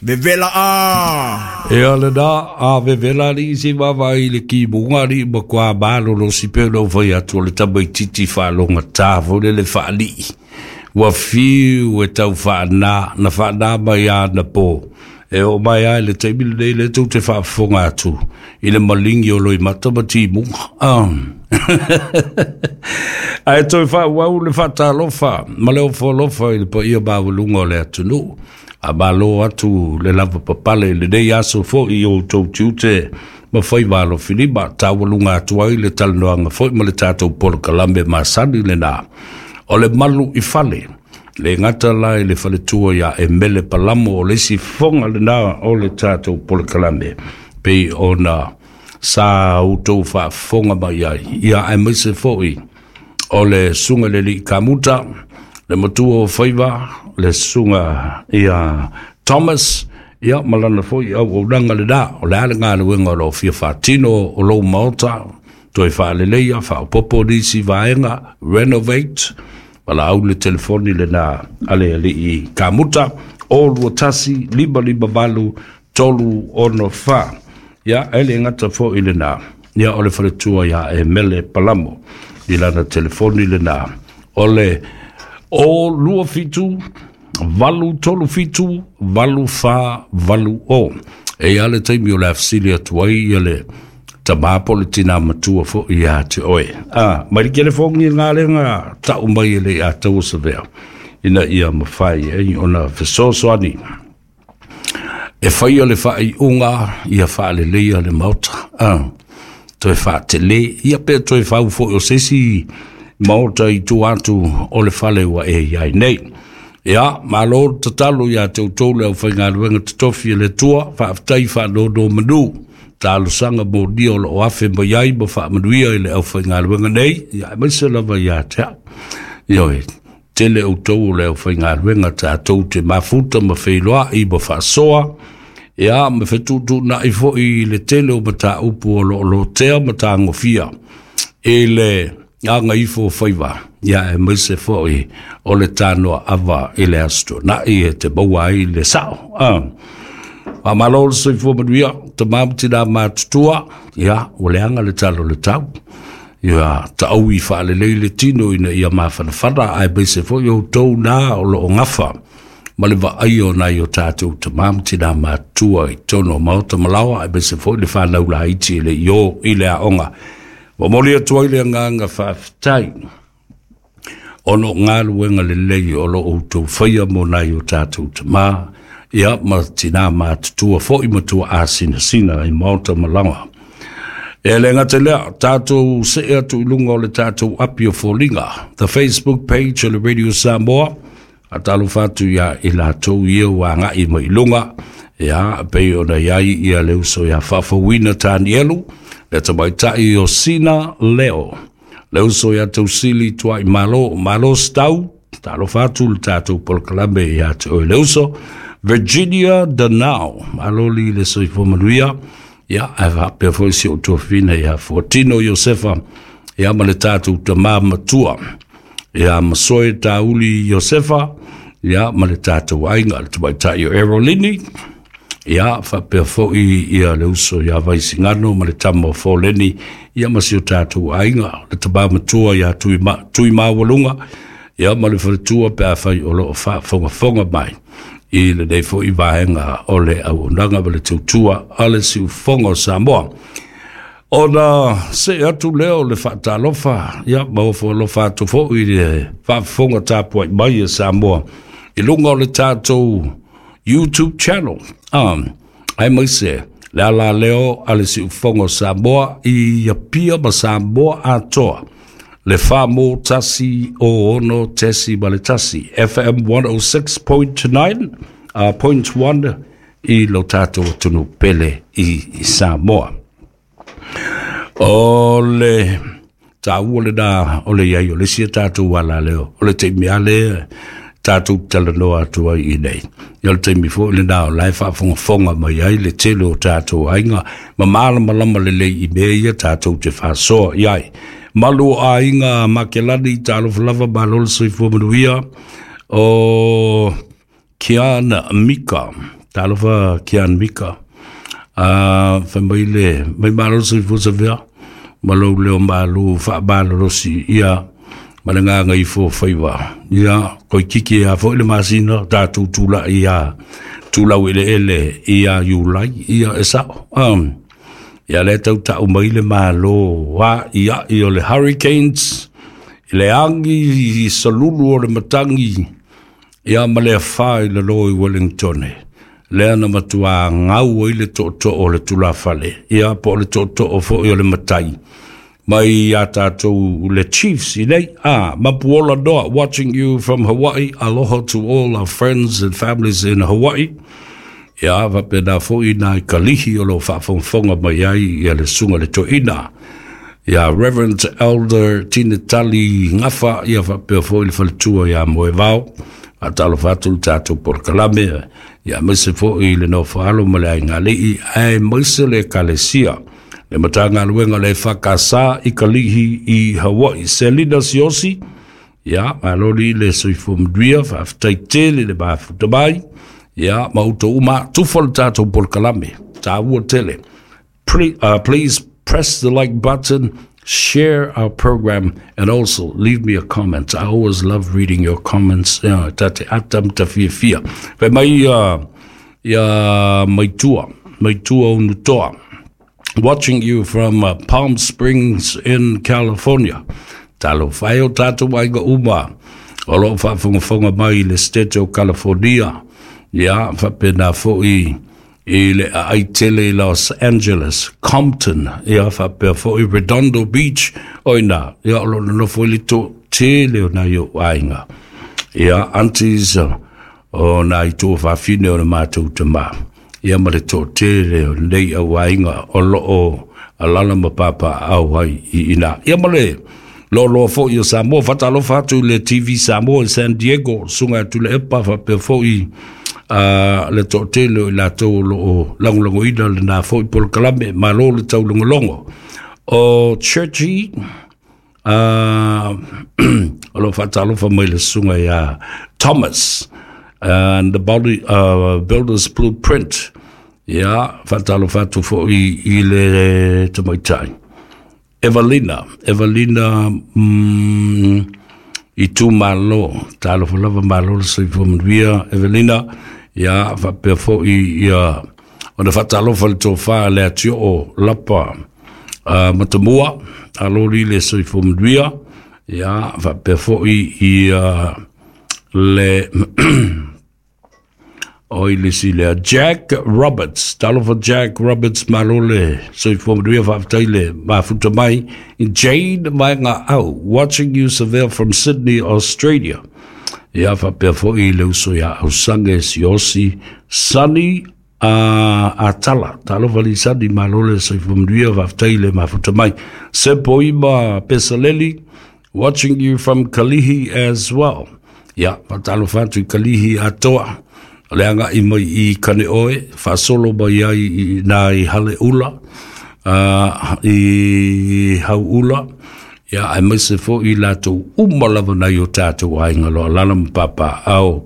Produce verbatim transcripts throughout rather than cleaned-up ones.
Vevela a. E o le na, a vevela li si vava i le ki munga li ma kwa malo lo si pe lo vai atu o le tamaititi whaalonga tā fo le le whaalii. Ua fiu e tau whaana, na whaana mai ana pō. E o mai ai le taimi lenei le tou te faafofoga atu i le maligi o Loimata ma Timuga. Ah. Ae toe faaauau le faatalofa ma le ofo i le paia maualuga o le atunuu. A malo atu le lava papale i lenei aso fo'i i outou tiute ma faiva alofilima taualuga atu ai le talanoaga fo'i ma le tatou polokalame masani lenā. O le malu i fale, le gata la i le faletua ia Emele Palamo o le isi fofoga lenā o le tatou polokalame pei ona sa outou faafofoga mai ai. Ia aemaise fo'i o le susuga le alii Kamuta, le matua o faiva, le susuga ia Thomas, ia ma lana fo'i auaunaga lenā. O le a le galuega o loo fia faatino o lou maota, toe faaleleia, faaopopo nisi vaega, renovate, valaau le telefoni lenā a le alii Kamuta, o lua tasi, lima lima valu, tolu ono fa. Ia, e le gata fo'i lenā, ia o le faletua ia Emele Palamo, i lana telefoni lenā. O le o lua fitu, valu tolu fitu, valu fa, valu o. E ia le taimi o le afesili atu ai ia le tamā po o le tinā matua fo'i ia te oe. Ah, mai le telefogi galega ta'u mai e le ataua savea, ina ia mafai ai ona fesoasoani e faia le faaiuga ia faaleleia le maota. Ah, toe faatelē ia pe toe fau fo'i o se isi maota i tua atu o le fale ua e iai nei. Ia, malo tatalo ia te outou le aufaigaluega totofi e le Atua, faafetai faanono manu. Talosaga molia o loo afe mai ai ma faamanuia i le aufaigaluega nei, ia aemaise lava ia te au. Ioe, tele outou o le aufaigaluega tatou te mafuta ma feiloai ma faasoa, ia ma fetuutuunai fo'i i le tele o mataupu o loo lotea ma tagofia i le agaifo o faiva, ia aemaise fo'i o le tanoa ava i le aso tuanai e te maua ai le sa'o. Ah. Faamalo le soifua manuia, tamā ma tinā matutua, ia, ua leaga le tala o le tau. Ia, taui faalelei le tino ina ia mafanafana, aemaise fo'i outou na o loo gafa ma le vaaia o nai o tatou tamā ma tinā matutua i totonu o maota ma laoa, aemaise fo'i le fanau laiti e le i o i le aoga. Momoli atu ai le agaga faafetai ona o galuega lelei o loo outou faia mo nai o tatou tamā ia ma tinā matutua fo'i ma tuaasinasina i maota ma laoa. E le gata lea, tatou see atu i luga o le tatou api o foliga, the Facebook page o le Radio Samoa, faatalofa atu ia i latou ia ua agai mai i luga, ia pei ona iai ia le uso ia Faafouina Tanielu, le tamaita'i o Sina Leo, le uso ia Tausili Tuai Malo, Malo Stau, talofa atu le tatou polokalame ia te oe le uso, Virginia Danao, malo li le soifua manuia, ia ae faapea foi si ou tuafina ia Fuatino Iosefa, ia ma le tatou tamā matua, ia Masoe Tauli Iosefa, ia ma le tatou aiga, le tamaita'i o Erolini, ia faapea fo'i ia le uso ia Vaisigano ma le tama o Foleni, ia ma si o tatou aiga, le tamā matua ia Tui, ma, Tui Maualuga, ia ma le faletua pe afai o loo faafogafoga mai i lenei fo'i vaega o le auaunaga ma le tautua a le siufofoga o Samoa. Ona see atu lea o le faatalofa, ia ma ofo alofa atu fo'i le faafofoga tapuai mai e Samoa i luga o le tatou YouTube channel. Um, aemaise le ala leo a le siufofoga o Samoa i Apia ma Samoa atoa. Le fa mo tasi o ono tesi ma le tasi, F M one oh six point nine, uh, point one i lo tatou atunuu pele i, i Samoa. O le taua lenā o le iai o le isi a tatou ala leo, o le taimi a lea tatou talanoa atu ai i nei. Ia o le taimi fo'i lenā o la e faafogafoga mai ai le tele o tatou aiga ma malamalama lelei i mea ia tatou te faasoa i ai. Malu o aiga Makelani, talofa lava, malo le soifua manuia. O Kiana Mika, Talofa Kian Mika. Uh, fai mai le, mai malo soifua Savea, ma lou leo malu faamalolosi, ia, ma le gaga ifo faiva. Ia, koikiki a foi le masina, tatou tula'i ia tulau eleele ia Iulai, ia e sa'o. Um, ia le tau ta'u mai le malo a ia i o le hurricanes, i le agi i salulu o le matagi, ia ma le afā i lalo i Wellingtone. Lea na matuā gau ai le tootoo o le tulafale, ia po o le tootoo foi o le matai mai iā tatou le Chiefs i nei. Ah, Mapuola Noa, watching you from Hawaii. Aloha to all our friends and families in Hawaii. Ia, faapena foi nai Kalihi o loo faafogafoga mai ai ia le susuga le toeaina. Ia Reverend Elder Tinetali Gafa, ia faapea foi le faletua iā Moevao. Faatalofa atu le tatou polokalame, ia aemaise foi le nofoalo ma le aigalii, aemaise le ekalesia. Le Matagaluega le E F K S i Kalihi i Hawaii. Selina Siosi, ia, maloli le soifua manuia, faafetai tele le mafuta mai. Ia, ma outou uma, tufa le tatou polokalame, tāua tele. Pre, uh, please press the like button, share our program, and also leave me a comment. I always love reading your comments. Yeah, ta te atam ta fia fia. Fai mai uh, ia maitua, maitua unutoa. Watching you from uh, Palm Springs in California. Talofa e o tatou aiga uma o loo faafogafoga mai i le State o California. Ia, faapena foi i le aai tele i Los Angeles, Compton, ia faapea foi Redondo Beach, o ina, ia o loo nonofo i le toatele o nai ou aiga. Ia, aunties o nai tuafafine o le matou tamā. Ia ma le toatele o nei au aiga o loo alala ma papaau ai i ina. Ia ma le loaloa foi o Samoa, faatalofa atu i le T V Samoa i San Diego, susuga atu le epa faapea foi uh, le toatele o i latou o loo lagolagoina lenā foi polokalame, malo le taulogologo. O Churchy, uh, o loo faatalofa mai le susuga ia Thomas and the body, uh, Builders Blueprint. Ia, faatalofa atu foi i le tamaitai. Evelina, Evelina mm, i tu malo, talofa lava malo le soifua manuia, Evelina, ia, faapea foi ia, ona faatalofa le tofa le atio lapa uh, matamua, aloli le soifua manuia, ia, faapea foi ia le o i le silea Jack Roberts. Talofa Jack Roberts, malo le soifua manuia, faafetai le mafuta mai. Jane Vaega Au, watching you, Seville, from Sydney, Australia. Ia faapea foi le uso ia Ausange Siosi Sunny uh, Atala. Talofa li Sunny, malo le soifua manuia, faafetai le mafuta mai. Sepoima Pesaleli, watching you from Kalihi as well. Ia, faatalofa atu i Kalihi atoa. O le agai mai i kane oe, faasolo mai ai i nā i hale ula, uh, i hau ula, ia aemaise foi latou uma lava nai o tatou aiga lo alala ma papaau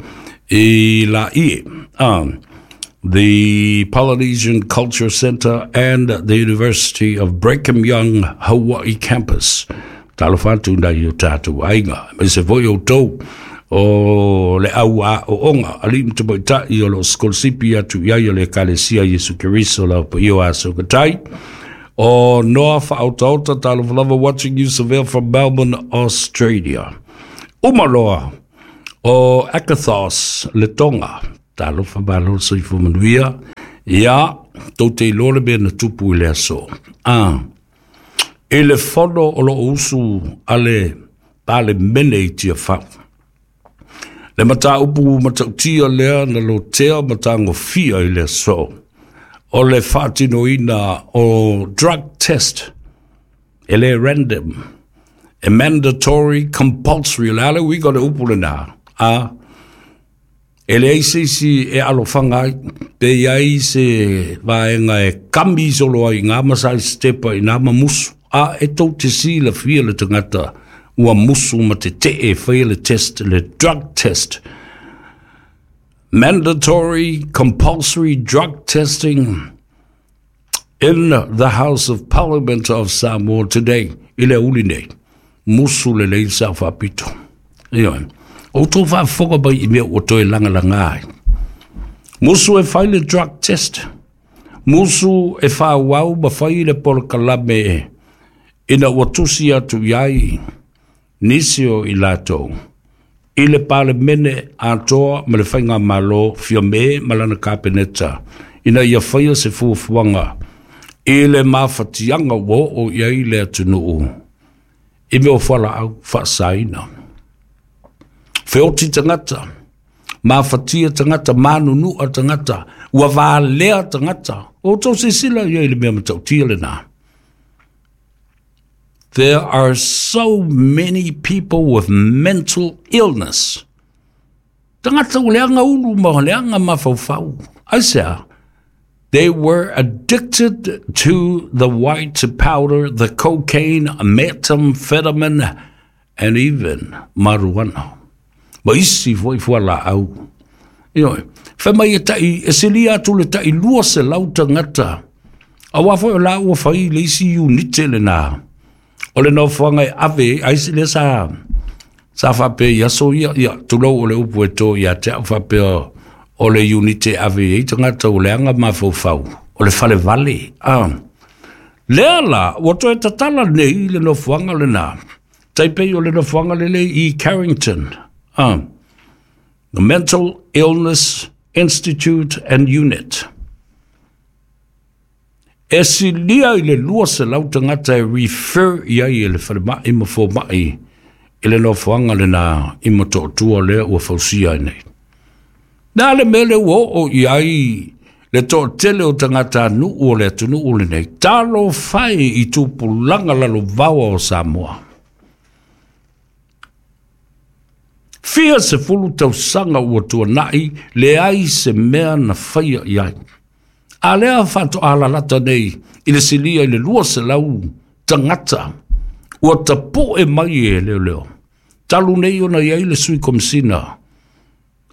i Laie. Um, the Polynesian Culture Center and the University of Brigham Young Hawaii Campus. Talofa atu nai o tatou aiga. Aemaise foi outou o le au a o onga ali ma tamaitai o loo sikolasipi atu i ai o le Ekalesia Iesu Keriso la paia o aso katai. O Noa Whaautaota, talofa lava, watching you, Seville, from Melbourne, Australia. Umaloa o Akathos le Tonga, talofa malo soifua manuia. Ia, tou te iloa le mea na tupu i le aso. Ah, i le fono o loo usu a le Palemene i Tiafau. Le mataupu matautia lea na lotea matagofia i le aso. O le faatinoina o drug test. E le random. E mandatory, compulsory. Le ale uiga le upu lenā. A, e leai se isi e alofaga ai, pe iai se vaega e kami solo ai ngā masai stepa i nā mamusu. A, e tou te silafia le tagata ua musu ma te tee e faia le test, le drug test. Mandatory compulsory drug testing in the House of Parliament of Samoa today. I le aoauli nei. Musu lelei Sao Faapito. Ioe. O outou faafofoga mai i mea ua toe lagalaga ai. Musu e fai le drug test. Musu e faaauau ma fai le polokalame ina ua tusi atu i ai nisi o i latou i le Palemene atoa ma le Faigamalo Fiame ma lana Kapeneta ina ia faia se fuafuaga i le mafatiaga ua oo i ai le atunuu i mea o fualaau faasaina. Feoti tagata, mafatia tagata, manunua tagata, ua valea tagata. O outou silasila i ai i le mea matautia lena. There are so many people with mental illness. Tagata ua leaga ulu ma leaga mafaufau. Aisea? They were addicted to the white powder, the cocaine, methamphetamine, and even marijuana. Ma isi foi fualaau. Ioe, fai mai e tai, e silia atu le tai lua selau tagata. Auā foi o la ua fai le isi unite lena. O le nofoaga e ave ai se lea sa sa faapea i aso ia, ia, tulou o le upu e to ia te au faapea o le unite e ave ai tagata ua leaga mafaufau, o le falevale. Ah. Lea la, ua toe tatala nei le nofoaga lena. Tai pei o le nofoaga lelei i Carrington. Ah. The Mental Illness Institute and Unit. E silia i le lua selau tagata e refer i ai e le falemai ma fomai i le nofoaga lena i Motootua lea ua fausia ai nei. Na le mea lea ua oo i ai le toatele o tagatanuu o le atunuu lenei, talofa e i tupulaga lalovaoa o Samoa. Fia sefulu tausaga ua tuanai, leai se mea na faia i ai. A lea faatoa lalata nei i le silia i le lua selau tagata ua tapu'e mai e leoleo. Talu nei ona i ai le sui komisina,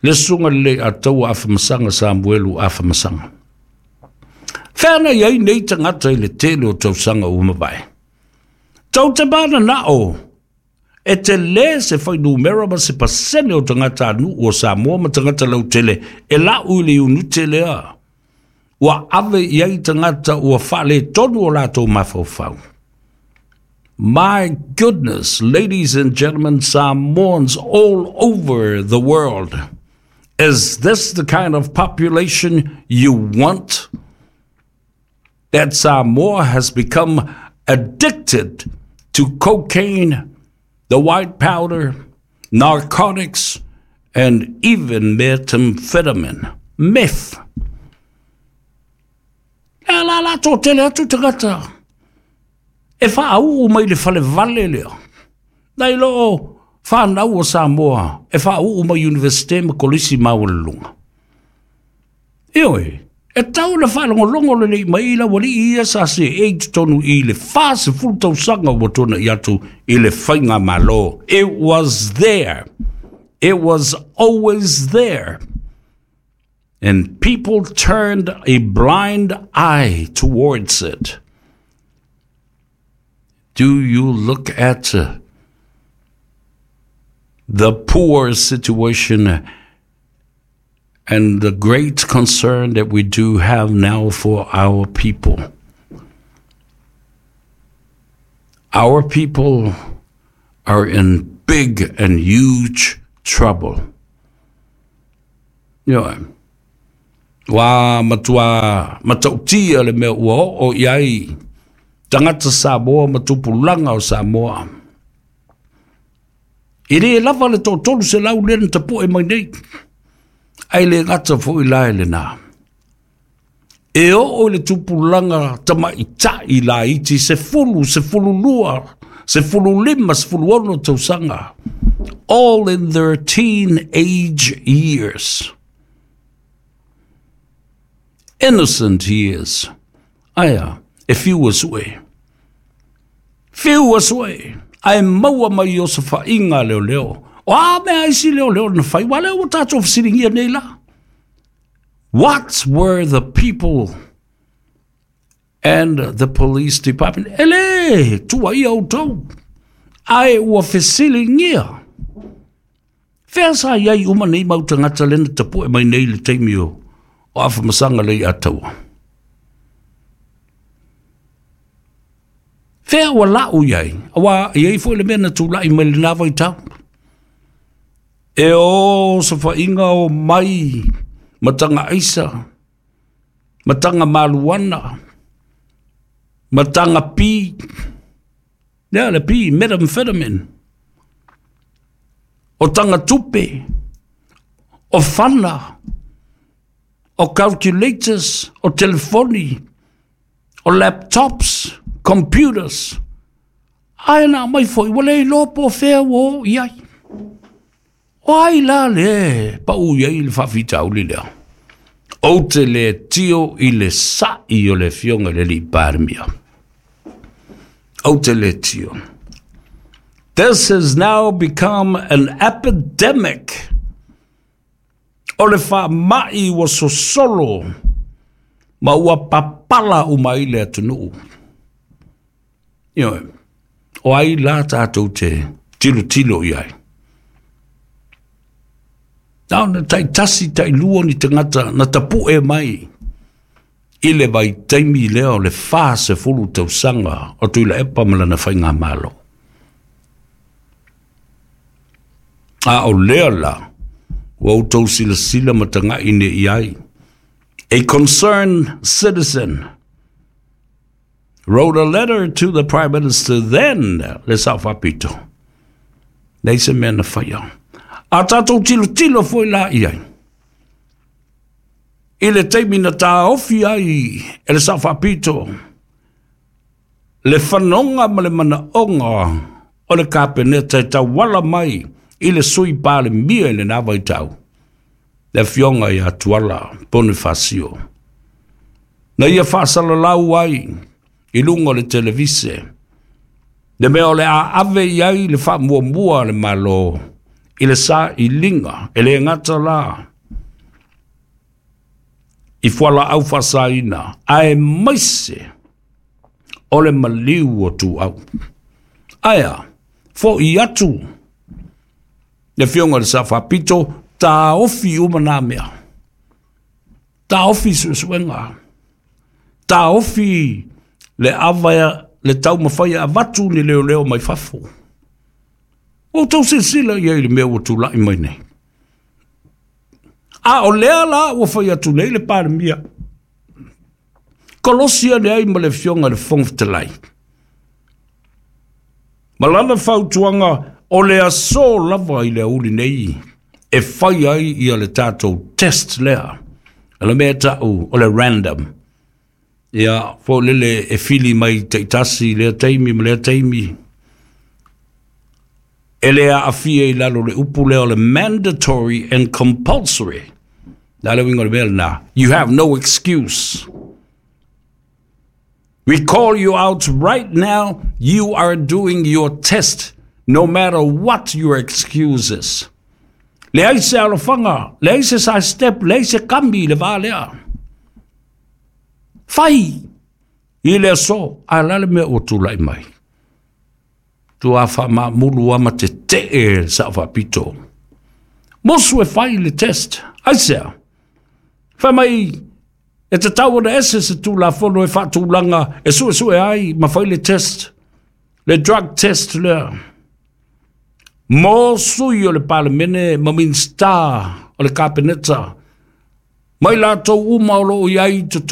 le susuga lelei Ataua Afamasaga Samuelu Afamasaga. Fea na i ai nei tagata i le tele o tausaga ua mavae. Tou te mananao e tele se fuainumera ma se pasene o tagatanuu o Samoa ma tagata lautele e lau i le iunite lea ua ave i ai tagata ua faaletonu o latou mafaufau. My goodness, ladies and gentlemen, Samoans all over the world, is this the kind of population you want? That Samoa has become addicted to cocaine, the white powder, narcotics, and even methamphetamine, meth. E la la toatele atu tagata e faauu mai le falevale lea. Nai lo o whanau o Samoa e faauu mai Universite ma Kolisi maualuluga. Ioe, e tau na faalogologo lelei mai i lau alii ia sa seei totonu i le fa sefulu tausaga ua tuana'i atu i le faigamalo. It was there. It was always there. And people turned a blind eye towards it. Do you look at uh, the poor situation and the great concern that we do have now for our people? Our people are in big and huge trouble. Ioe. Ua matua matautia le mea ua oo i ai tagata Samoa ma tupulaga o Samoa. E le lava le toatolu selau lea na tapu'e mai nei, ae le gata foi la e lenā. E oo i le tupulaga tamaita'i laiti sefulu, sefulu lua, sefulu lima, sefulu ono tausaga, all in their teenage years. Innocent years. Aia, e fiu e sue. Fiu e sue. Ae maua mai i osofaiga a leoleo. O a mea a isi leoleo na fai, aua o lea ua tatou fesiligia nei la. What were the people and the police department? E lē tuuaia outou, ae ua fesiligia. Fea sa i ai uma nei mau tagata lena tapu'e mai nei le taimi o o Afamasaga Leiataua? Fea ua la'u i ai, auā e i ai foi le mea na tula'i mai lenā vaitau. E o safa'iga o mai ma taga aisa, ma taga maluana, ma taga pi, lea le pi, methamphetamine, o taga tupe, o fana, o calculators, o telefoni, o laptops, computers, ae na aumai foi ua le iloa po o fea ua oo i ai. O ai la le pau i ai le faafitauli lea? Ou te le tio i le sa'i o le afioga i le alii Palemia. Ou te le tio. This has now become an epidemic. O le faama'i ua sosolo ma ua papala uma ai le atunuu. Ioe, o ai la tatou te tilotilo i ai? Na ona taitasi tailua ni tagata na tapu'e mai i le vaitaimi lea o le fasefulu tausaga o Tuilaepa ma lana faigamalo. A o lea la, ua outou silasila ma taga'i nei i ai. A concerned citizen wrote a letter to the Prime Minister then, le Sao Faapito. Leai se mea na faia. A tatou tilotilo foi la i ai i le taimi na taofi ai e le Sao Faapito le fanoga ma le manaoga o le Kapeneta e tauala mai i le Sui Palemia i lena vaitau, le afioga ia Tuala Ponifasio, na ia faasalalau ai i luga o le televise le mea o le a ave i ai le faamuamua a le Malo i le sailiga e le gata la i fualaau faasaina aemaise o le maliu o tuau. Ae a fo'i atu le afioga i le Sa Faapito, taofi uma nā mea, taofi suesuega, taofi le ava le taumafai e avatu ni leoleo mai fafo. Ua outou silasila i ai i le mea ua tula'i mai nei. A o lea la ua fai atu nei le Palemia, kolosi ane ai ma le Afioga i le Fofoga Fetalai ma lana fautuaga o le aso lava i le aoauli nei e fai ai ia le tatou test lea, o le mea e ta'u o le random, ia foi lele e fili mai taitasi i lea taimi ma lea taimi, e le aafia i lalo o le upu lea o le mandatory and compulsory. O le a le uiga o le mea lena? You have no excuse. We call you out right now, you are doing your test, no matter what your excuse is. Leai se alofaga, leai se side step, leai se kami i le va lea. Fai i le aso, ae o le a le mea ua tulai mai? Tua faamaamulu lava ma tetee le Sao Faapito. Musu e fai le test. Aisea? Fai mai e tatau ona ese se Tulafono e faatulaga e suesue ai ma fai le test, le drug test lea. Mo sui o le Palemene ma Minisita o le Kapeneta, mai latou uma o lo o i ai i totonu.